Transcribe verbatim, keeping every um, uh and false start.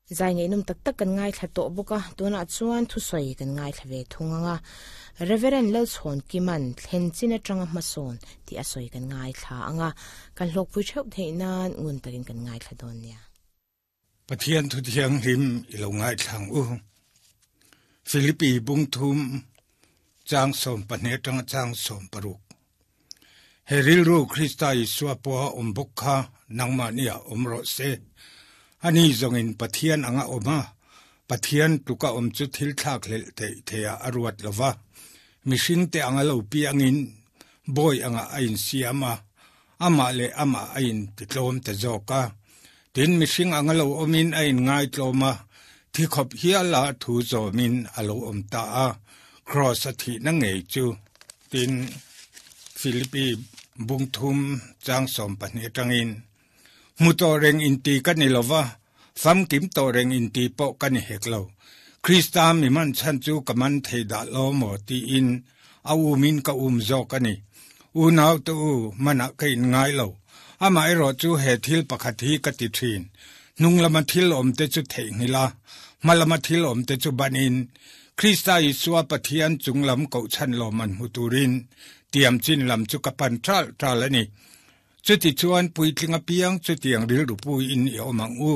Zai ngaihnawm tak tak kan ngaithla tawh bawk a, tunah chuan thusawi kan ngaithla ve thung ang a. Reverend Lalchhawn Kiman thlen chin atanga hmasawn tih a sawi kan ngaithla ang a, kan hlawkpui theuh theih nan ngun takin kan ngaithla dawn nia. Pathian thu thianghlim i lo ngaithlang u. Philippi bung thum chang sawm pahnih atanga chang sawm paruk. He rilru Krista Isua pawha awm bawk kha nangmahnia awm rawh se. Ani zawngin Pathian anga awm a, Pathian tluka awm chu thil thlak hlelh theih theiah a ruat lo va. Mihringte anga lo piangin bawi anga a insiam a, amah leh amah a intitlawm ta zawk a. Tin, mihring anga lo awmin a inngaitlawm a, thi khawp hiala thu zawmin a lo awm ta a, Kraws a thihna ngei chu. Tin, Philippi bung thum chang sawm pahnih atangin, Hmu tawh reng inti ka ni lo va, famkim tawh reng inti pawh ka ni hek lo. Krista mi man chhan chu ka man thei dah lo maw tiin a umin ka um zawk a ni. Unau te u, manah ka inngai lo. Amaherawh chu he thil pakhat hi ka ti thin. Hnung lama thil awmte chu theihnghilh a, hma lama thil awmte chu banin, Krista Isua Pathian chung lam kohchhan lawmman hmu turin tiam chin lam chu ka pan ṭal ṭal a ni. Chutichuan puitling apiang chutiang rilru puiin i awm ang u.